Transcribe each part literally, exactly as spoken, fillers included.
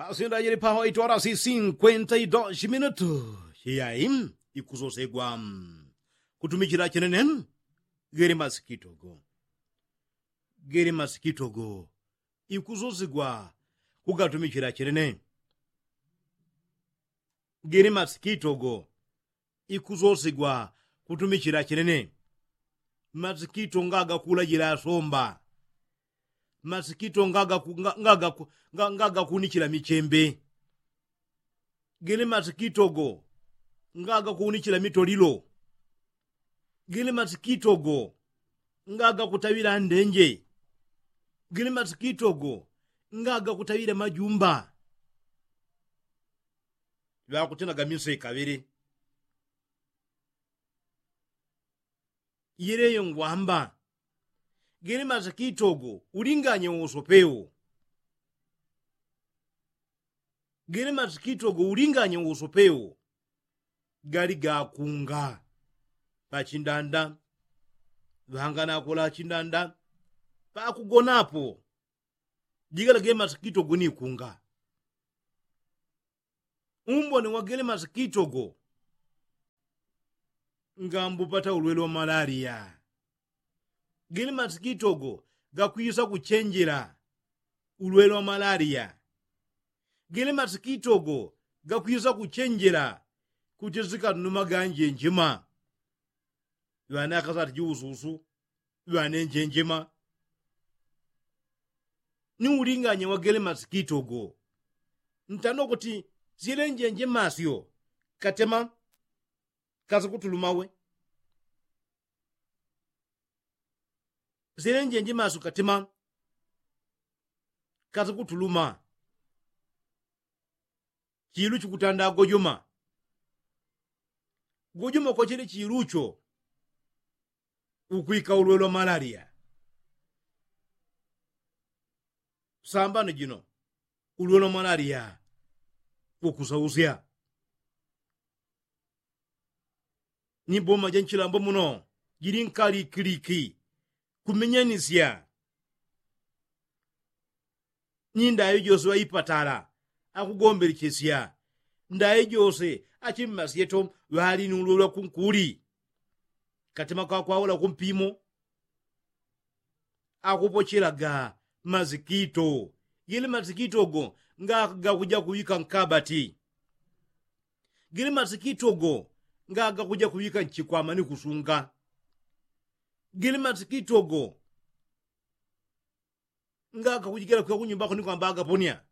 Asindajili paho itwala si sinkwenta ido shiminutu shiyayi ikusosegwa kutumichila chenene. Gele masikitogo gele masikitogo ikusosegwa kugatumichila chenene. Gele masikitogo ikusosegwa kutumichila chenene. Masikito ngaga kulajila asomba. Masikito ngaga kunichila michembe. Gele masikitogo ngaga kunichila mitolilo. Gele masikitogo ngaga kutawila ndenje. Gele masikitogo ngaga kutawila majumba. Ŵakutenaga miseka ŵele. Yeleyo ngwamba gele masikitogo ulinganye usopewo. Gele masikitogo ulinganye usopewo. Gali gakunga pachindanda. Ŵanganakola chindanda pakugonapo. Jigala gele masikitogo nikunga. Umbone wa gele masikitogo ngambupata ulwele wa malaria. Gele masikitogo gakwisa kuchenjela ulwele wa malaria. Gele masikitogo gakwisa kuchenjela kuti zikanuma ganje njema. Ŵane akasati jiususu ŵane njenjema. Ni ulinganya wagele masikitogo ntano kuti sile njenjema syo katema kasikutuluma we. Sile njenjema syo katema kasikutuluma. Chilu chikutanda gojuma. Gojuma kwachele chilu cho ukwika ulwelwa malaria. Sambano jino ulwelwa malaria. Ukusausya ni boma ja nchilambo muno jili nkalikiliki kumenyanisya. Ni ndayo jose ŵaipatala akugombelechesya ndayo jose achimmasyeto ŵali nulwelwa kunkuli. Katema kakwaula kumpimo akupochelaga masikito. Gele masikito go nga gakuja kuwika nkabati. Gele masikito go nga gakuja kuwika nchikwama ni kusunga. Gele masikito go nga gakujigela kwika kunyumbako ni kwamba agaponya.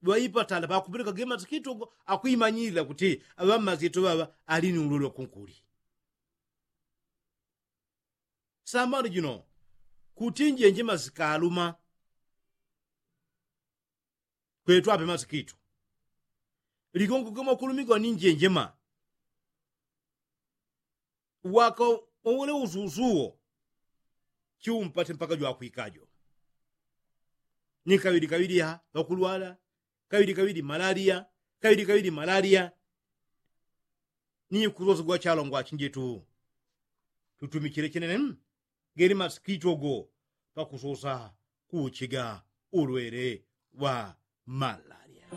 Ŵaipatala ŵakupeleka gele masikito go akwimanyilila kuti aŵammasikito ŵaŵa ali ni ulwelwa kunkuli. Sambano jino kuti njenjema sikaluma. Kwetwape masikito ligongo gemo kulumigwa ni njenjema. Waka owole ususu wo chiumpate mpaka jwakwikajo. Ni kaŵili kaŵili ha ŵakulwala kaŵili kaŵili malaria. Kaŵili kaŵili malaria. Ni kusosa gwachalongwa chinjetu tutumichile chenene. Gele masikito go pakusosa kuchiga ulwele wa malaria.